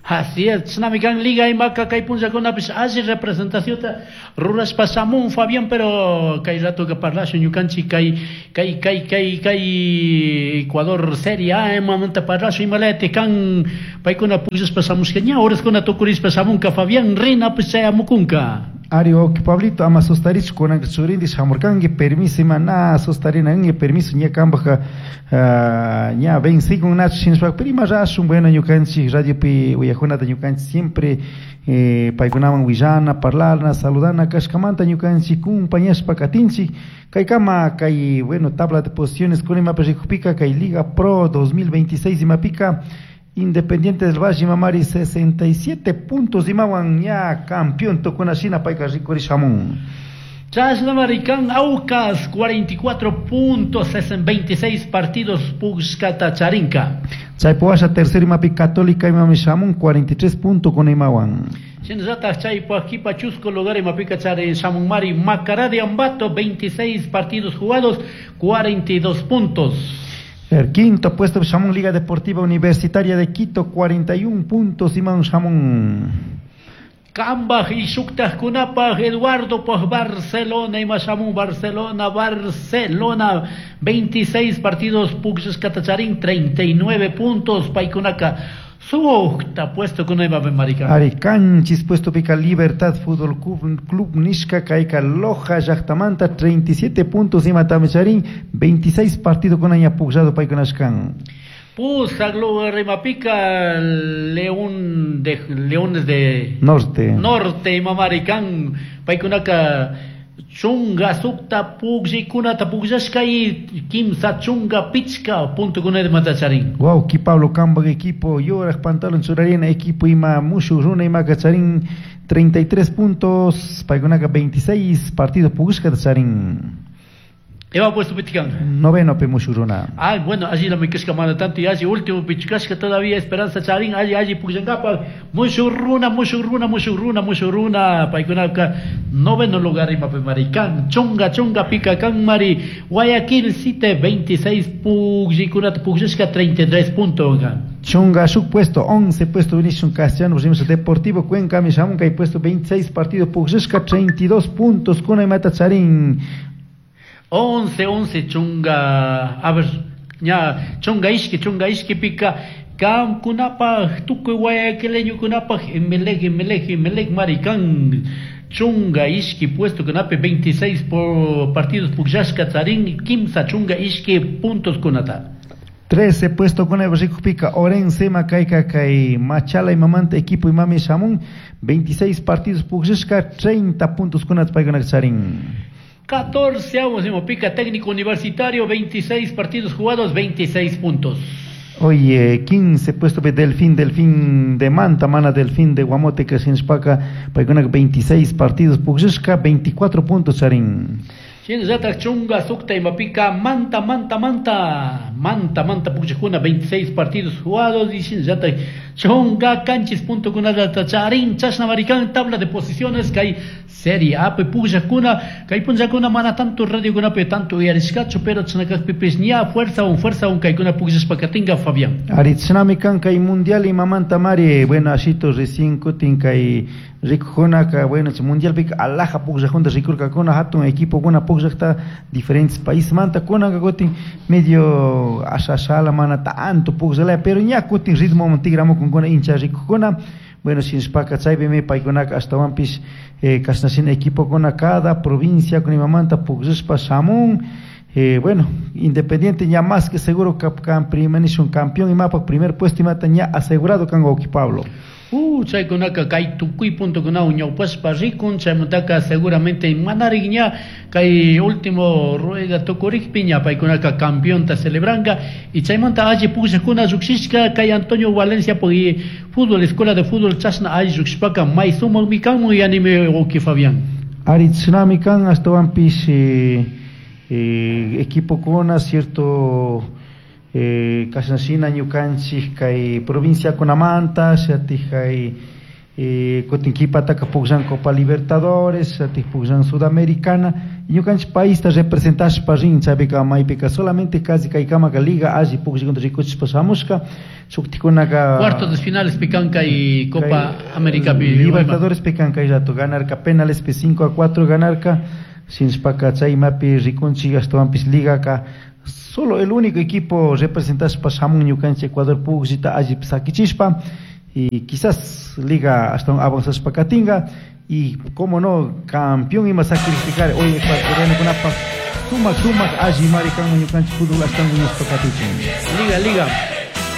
Así es, chashnami kan Liga imaka kay punllakunapish alli representacionta rurashpa shamun, Fabián, pero kay ratoka parlashun ñukanchik kay kay kay kay kay Ecuador Serie A imamanta parlashun, imalayatik kan paykuna pukllashpa shamushka, ña horaskuna tukurishpa shamunka, Fabián, rinapish chayamukunka. Ari, ok, Pablito, ama sustarich, kunanka churindi shamurkanki, permiso ima na sustarina kanki, permiso ña kambaj ña vencikun nachu shinashpa, pero ima rashun, bueno, ñukanchik radiopi uyajunata ñukanchik siempre paykunaman willana, parlana, saludana kashkamanta ñukanchik kumpañashpa katinchik. Kaykama kay, bueno, tabla de posiciones kuna imapi rikukpika kay Liga Pro 2026 imapika Independiente del Valle imamari 67 puntos imawan ña campeón tukuna shina payka rikuri shamun. Chashnamari kan Aucas 44 puntos en 26 partidos pushkata charinka. Chaypi washa tercer imapi Católica imami shamun 43 puntos con imawan. Shinallatak chaypa kipa chusco lugar imapika chari shamunmari Macará de Ambato, 26 partidos jugados, 42 puntos. El quinto puesto shamun Liga Deportiva Universitaria de Quito, 41 puntos iman shamun. Kambaj y shuktajkunapaj Eduardo paj Barcelona ima shamun Barcelona, Barcelona 26 partidos pukllashkata charin, 39 puntos paykunaka sukta puesto kuna imapi marika. Ari kanchis puesto pika Libertad Fútbol Club nishka kayka Loja llaktamanta 37 puntos imatami charin, 26 partido kuna ña pukllado paykunashkan. Pusak lugar imapika León de Leones de Norte. Norte imamari kan paykunaka chunga sukta pukllaykunata pukllashka y kimsa chunga pichka punto kuna imata charin. Guau, ki Pablo Kambaj equipo yoraj pantalón churarina equipo ima mushu runa imaka charin 33 puntos paykunaka 26 partidos pukllashkata charin. Eva puesto pichkan. Noveno pe mushu runa. Ah, bueno, allí la mikashka mana tanto y allí último pichkashka todavía Esperanza Charín, allí, allí pukllankapa, mushu runa, mushu runa, mushu runa, mushu runa, paykunaka noveno lugar ima pe marikan, chunga, chunga, pica kan mari, Guayaquil City 26 pukllaykunata pukllashka 33 puntos. Chunga shuk puesto 11 puesto Vinicius Castellano, pusimos Deportivo Cuenca, mi shamunka y puesto 26 partidos pukllashka 32 puntos kuna imata Charín. 11, 11, chunga, a ver, ña, chunga ishki, chunga ishki pica, kam kunapaj, tukuy guayaquileño kunapaj, Emelec, Emelec, Emelec, maricán, chunga ishki puesto kunapi 26 por partidos pukllashka tzarín, kimsa chunga ishki puntos kunata. 13 puesto con el Rico Pica, Orense, Macaica, Kay, Machala y Mamanta, equipo y Mami Shamun, 26 partidos pukllashka, 30 puntos kunata paykuna tzarín. 14 avos de Mopica, técnico universitario, 26 partidos jugados, 26 puntos. Oye, 15 puesto de Delfín, Delfín de Manta, Mana Delfín de Guamote, que se inspaca, paykuna 26 partidos, pukllashka, 24 puntos, charin. Shinallatak chunga sukta imapika, Manta, Manta, Manta, Manta, Manta, pukllakuna, 26 partidos jugados, y shinallatak chunga kanchis punto kunata charin, chashna maricán, tabla de posiciones, kay Serie A, pe pukllakuna, kay punllakuna mana tanto radio kunapi tanto uyarishkachu, pero chashnakakpipis ña fuerza un fuerza un kaykuna pukllashpakatinka, Fabián. Ari, chashnami kan kay mundial imamanta mari, bueno, ashito recién kutin kay rikujunaka, bueno, chay mundialpika alaja pukllajunta rikurkakuna, hatun equipo kuna pukllakta diferentes países manta kunaka kutin medio asha ashala mana tanto pukllalaya, pero ña kutin ritmo tigramukunkuna hincha rikujuna. Bueno, shinashpaka chaypimi paykunaka ashtawanpish, kashna shina equipokuna cada provincia con imamanta pukllashpa shamun. Bueno, Independiente ya más que seguro que un campeón imapa primer puesto imata ña asegurado kan Oki Pablo. Chaykunaka kay tukuy punto kuna ñawpashpa rikun, chaymantaka seguramente manarik ña kay último rueda tukurikpi ña paykunaka campeonta celebranka y chaymanta alli pukllakuna lluqshishka kay Antonio Valencia pugui fútbol, escuela de fútbol chashna alli lluqshishpaka may sumakmi kanmun yanimi Oki Fabián. Ari chashnami kan ashtawanpish, equipo kuna cierto, kashna shina ñukanchik kay provincia kunamanta, shatij kay, kutin kipataka pukllan Copa Libertadores, shatij pukllan Sudamericana, Ñukanchik paista representashpa rin chaypika maypika solamente casi kaykamaka liga alli pukllakuna rikuchishpa shamushka shuktikunaka Cuartos de finales pi kan kay Copa América pi. Libertadores pi kan kay rato ganarka penales pi 5-4 ganarka shinashpaka chay imapi rikunchik ashtawanpish ligaka solo el único equipo representashpa shamun ñukanchik Ecuador pukllita alli sakichishpa y quizás liga ashtawan avanzashpa katinga y cómo no campeón ima sacrificar hoy ecuatorianokunapak sumak sumak alli mari kanman ñukanchik fútbol ashtawan wiñashpa katichin. Liga, liga.